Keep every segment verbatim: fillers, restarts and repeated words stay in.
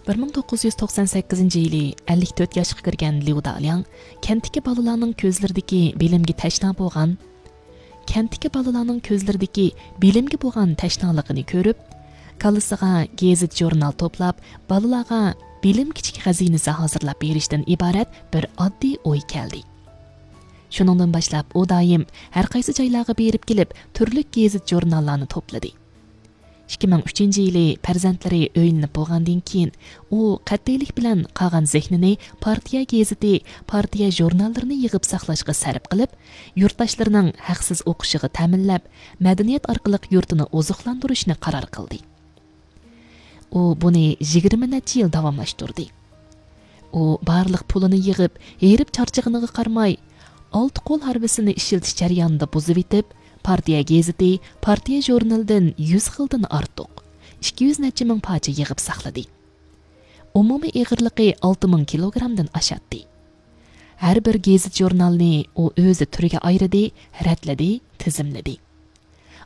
بىر مىڭ توققۇز يۈز توقسان سەككىزىنچى يىلى ئەللىك تۆت ياشقا كىرگەن ليۇ دالياڭ كەنتتىكى بالىلارنىڭ كۆزلىرىدىكى بىلىمگە تەشنا بولغان، كەنتتىكى بالىلارنىڭ كۆزلىرىدىكى بىلىمگە بولغان تەشنالىقىنى كۆرۈپ، كاللىسىغا گېزىت-ژۇرنال توپلاپ، بالىلارغا بىلىم كىچىك خەزىنىسى ھازىرلاپ بېرىشتىن ئىبارەت بىر ئاددىي ئوي كەلدى. شۇنىڭدىن باشلاپ ئۇ دائىم ھەر قايسى جايلارغا بېرىپ كېلىپ، تۈرلۈك گېزىت-ژۇرناللارنى توپلىدى. ئىككى مىڭ ئۈچىنچى يىلى پەرزەنتلىرى ئۆيلىنىپ بولغاندىن كېيىن، ئۇ قەتئىيلىك بىلەن قالغان زېھنىنى پارتىيە گېزىتى، پارتىيە ژۇرناللىرىنى يىغىپ ساقلاشقا سەرپ قىلىپ، يۇرتداشلىرىنىڭ ھەقسىز ئوقۇشىغا تەمىنلەپ، مەدەنىيەت ئارقىلىق يۇرتىنى ئوزۇقلاندۇرۇشنى قارار قىلدى. ئۇ بۇنى يىگىرمە نەچچە يىل داۋاملاشتۇردى. ئۇ بارلىق پۇلىنى يىغىپ، ھېرىپ چارچىغىنىغا قارىماي، ئالتە قول ھارۋىسىنى ئىشلىتىش جەريانىدا بۇزۇۋېتىپ، پارتىيە گېزىتى، پارتىيە ژۇرنىلىدىن يۈز خىلدىن ئارتۇق، ئىككى يۈز نەچچە مىڭ پارچە يىغىپ ساقلىدى. ئومۇمىي ئېغىرلىقى ئالتە مىڭ كىلوگرامدىن ئاشاتتى. ھەر بىر گېزىت-ژۇرنالنى ئۇ ئۆزى تۈرگە ئايرىدى، رەتلىدى، تىزىملىدى.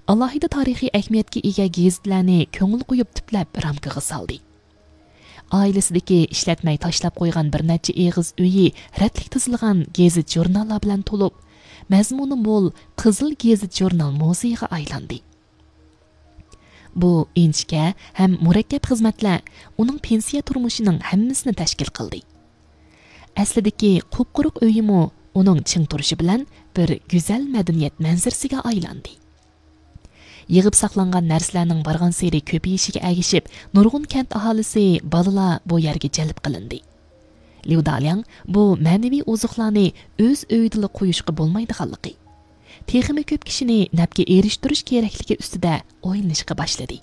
ئالاھىدە تارىخىي ئەھمىيەتكە ئىگە گېزىتلەرنى كۆڭۈل قويۇپ تىپلەپ رامكىغا سالدى. ئائىلىسىدىكى ئىشلەتمەي تاشلاپ قويغان بىر نەچچە ئېغىز ئۆيى رەتلىك تىزىلغان گېزىت-ژۇرناللار بىلەن تولۇپ، مەزمۇنى مول قىزىل گېزىت-ژۇرنال مۇزېيىغا ئايلاندى. بۇ ئىنچىكە ھەم مۇرەككەپ خىزمەتلەر ئۇنىڭ پېنسىيە تۇرمۇشىنىڭ ھەممىسىنى تەشكىل قىلدى. ئەسلىدىكى قۇپقۇرۇق ئۆيىمۇ ئۇنىڭ چىڭ تۇرۇشى بىلەن بىر گۈزەل مەدەنىيەت مەنزىرىسىگە ئايلاندى. يىغىپ ساقلانغان نەرسىلەرنىڭ بارغانسېرى كۆپىيىشىگە ئەگىشىپ، نۇرغۇن كەنت ئاھالىسى، بالىلار بۇ يەرگە جەلپ قىلىندى. ليۇ دالياڭ بۇ مەنىۋى ئوزۇقلارنى ئۆز ئۆيىدىلا قويۇشقا بولمايدىغانلىقى، تېخىمۇ كۆپ كىشىنى نەپكە ئېرىشتۈرۈش كېرەكلىكى ئۈستىدە ئويلىنىشقا باشلىدى.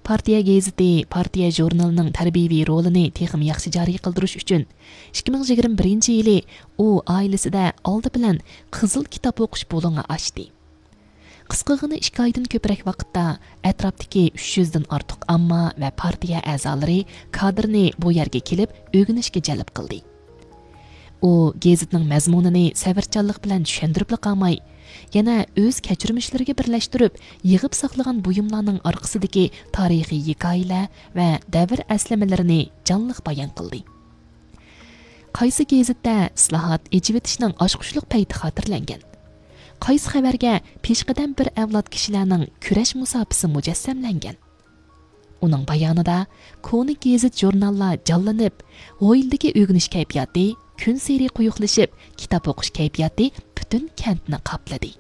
پارتىيە گېزىتى، پارتىيە ژۇرنىلىنىڭ تەربىيەۋى رولىنى تېخىمۇ ياخشى جارى قىلدۇرۇش ئۈچۈن، ئىككى مىڭ يىگىرمە بىرىنچى يىلى ئۇ ئائىلىسىدە ئالدى بىلەن قىزىل كىتاب ئوقۇش بۇلۇڭى ئاچتى. قىسقىغىنە ئىككى ئايدىن كۆپرەك ۋاقىتتا ئەتراپتىكى ئۈچ يۈزدىن ئارتۇق ئامما ۋە پارتىيە ئەزالىرى، كادىرنى بۇ يەرگە كېلىپ ئۆگىنىشكە جەلپ قىلدى. ئۇ گېزىتنىڭ مەزمۇنىنى سەۋرچانلىق بىلەن چۈشەندۈرۈپلا قالماي، يەنە ئۆز كەچۈرمىشلىرىگە بىرلەشتۈرۈپ، يىغىپ ساقلىغان بۇيۇملارنىڭ ئارقىسىدىكى تارىخىي ھېكايىلەر ۋە دەۋر ئەسلىمىلىرىنى جانلىق بايان قىلدى. قايسى گېزىتتە ئىسلاھات، ئېچىۋېتىشنىڭ ئاچقۇچلۇق پەيتى خاتىرىلەنگەن؟ قايسى خەۋەرگە پېشقەدەم بىر ئەۋلاد كىشىلەرنىڭ كۈرەش مۇساپىسى مۇجەسسەملەنگەن؟ ئۇنىڭ بايانىدا كونا گېزىت-ژۇرناللار جانلىنىپ، ھويلىدىكى ئۆگىنىش كەيپىياتى كۈنسېرى قويۇقلىشىپ، كىتاب ئوقۇش كەيپىياتى پۈتۈن كەنتنى قاپلىدى.